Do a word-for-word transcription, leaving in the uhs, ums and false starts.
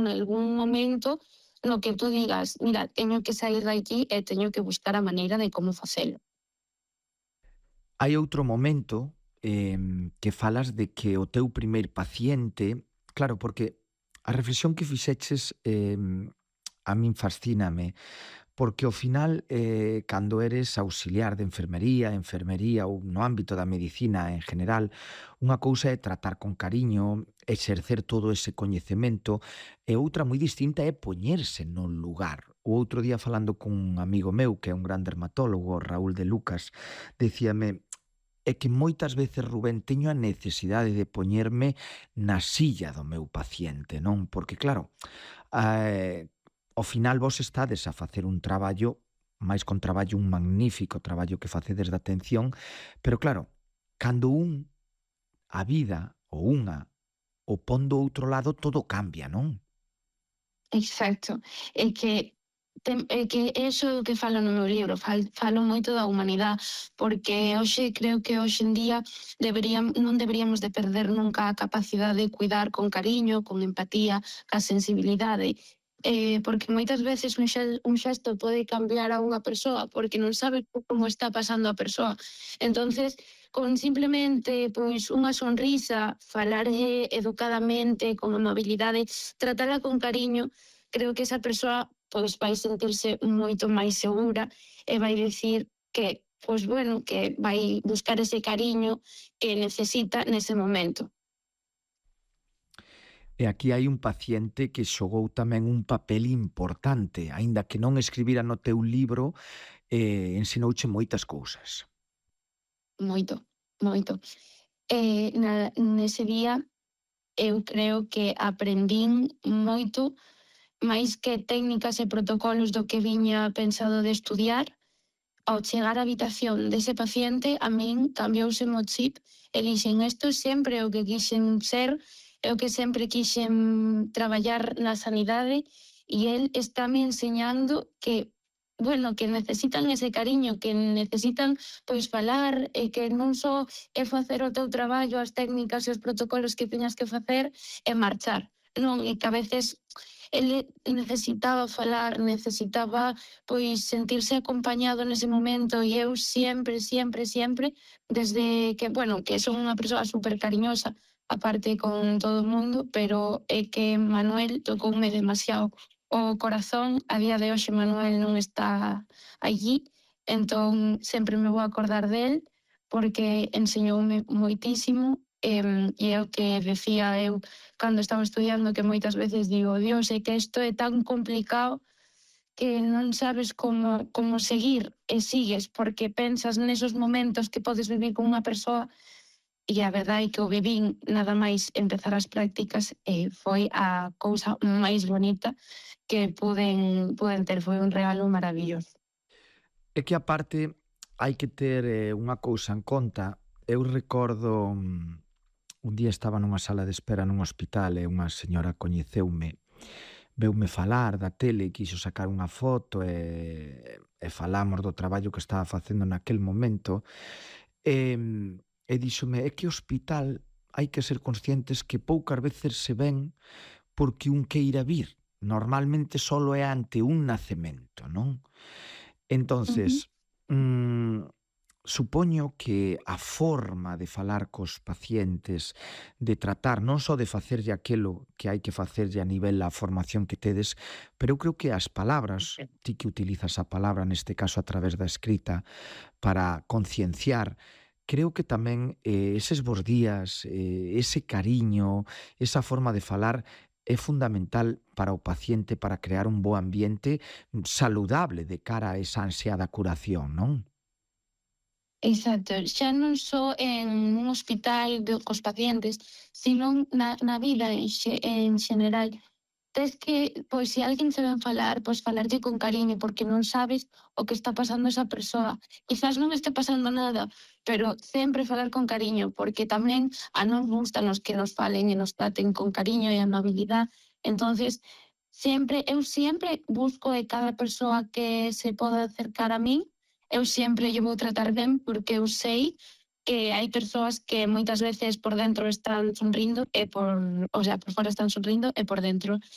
algún momento no que tú digas, mira, teño que sair de aquí e teño que buscar a maneira de como facelo. Hai outro momento eh, que falas de que o teu primeiro paciente, claro, porque a reflexión que fixeches eh, a min fascíname, porque ao final, eh, cando eres auxiliar de enfermería, enfermería ou no ámbito da medicina en general, unha cousa é tratar con cariño, exercer todo ese coñecemento, e outra moi distinta é poñerse no lugar. O outro día falando cun amigo meu, que é un gran dermatólogo, Raúl de Lucas, decíame: é que moitas veces, Rubén, teño a necesidade de poñerme na silla do meu paciente, non? Porque claro, eh, ao final vos estades a facer un traballo, máis con traballo, un magnífico traballo que facedes de atención, pero claro, cando un, a vida, ou unha, o pon do outro lado, todo cambia, non? Exacto. É que tem, é que eso é o que falo no meu libro, fal, falo moito da humanidade, porque hoxe creo que hoxe en día deberíam, non deberíamos de perder nunca a capacidade de cuidar con cariño, con empatía, ca sensibilidade. Eh, porque moitas veces un, xel, un xesto pode cambiar a unha persoa porque non sabe como está pasando a persoa. Entonces, con simplemente pois unha sonrisa, falar educadamente, con amabilidade, tratala con cariño, creo que esa persoa pois vai sentirse moito máis segura e vai dicir que, pois bueno, que vai buscar ese cariño que necesita nese momento. E aquí hai un paciente que xogou tamén un papel importante, aínda que non escribira no teu libro, eh, ensinouche moitas cousas. Moito, moito. Eh, na, nese día eu creo que aprendín moito máis que técnicas e protocolos do que viña pensado de estudiar. Ao chegar á habitación dese paciente, a min cambiouse o chip e dixen, isto sempre é o que quixen ser, é o que sempre quixen traballar na sanidade, e el está me enseñando que, bueno, que necesitan ese cariño, que necesitan pois falar, e que non só é facer o teu traballo, as técnicas e os protocolos que teñas que facer e marchar. Non, e que a veces ele necesitaba falar, necesitaba pois sentirse acompañado nese momento, e eu sempre, sempre, sempre, desde que, bueno, que son unha persoa super cariñosa, aparte con todo o mundo, pero é que Manuel tocoume demasiado o corazón. A día de hoxe Manuel non está allí, entón sempre me vou acordar del, porque enseñoume moitísimo. E, e é o que decía eu cando estaba estudiando, que moitas veces digo, Dios, é que isto é tan complicado que non sabes como, como seguir, e sigues porque pensas nesos momentos que podes vivir con unha persoa, e a verdade é que o vivín nada máis empezar as prácticas, e foi a cousa máis bonita que puden, puden ter, foi un regalo maravilloso. É que aparte hai que ter eh, unha cousa en conta. Eu recordo mm, un día estaba nunha sala de espera nun hospital e unha señora coñeceume, veume falar da tele e quixo sacar unha foto e, e falamos do traballo que estaba facendo naquel momento e, e díxome, é que o hospital hai que ser conscientes que poucas veces se ven porque un queira vir. Normalmente solo é ante un nacemento, non? Ujú. Entonces, mm, supoño que a forma de falar cos pacientes, de tratar, non só de facerlle aquelo que hai que facerlle a nivel da formación que tedes, pero eu creo que as palabras, ti que utilizas a palabra neste caso a través da escrita para concienciar, creo que tamén eh, eses bos días, eh, ese cariño, esa forma de falar é fundamental para o paciente para crear un bo ambiente mm, saludable de cara a esa ansiada curación, non? Exacto, xa non só en un hospital de, cos pacientes, sino na, na vida en, xe, en xeneral. Tes que, pois, se alguén se ven falar, pois falarlle con cariño, porque non sabes o que está pasando esa persoa. Quizás non este pasando nada, pero sempre falar con cariño, porque tamén a non gustan os que nos falen e nos traten con cariño e amabilidade. Entonces, sempre, eu sempre busco de cada persoa que se poda acercar a min, eu sempre lle vou tratar ben, porque eu sei que hai persoas que moitas veces por dentro están sonrindo e por, o sea, por fora están sonrindo e por dentro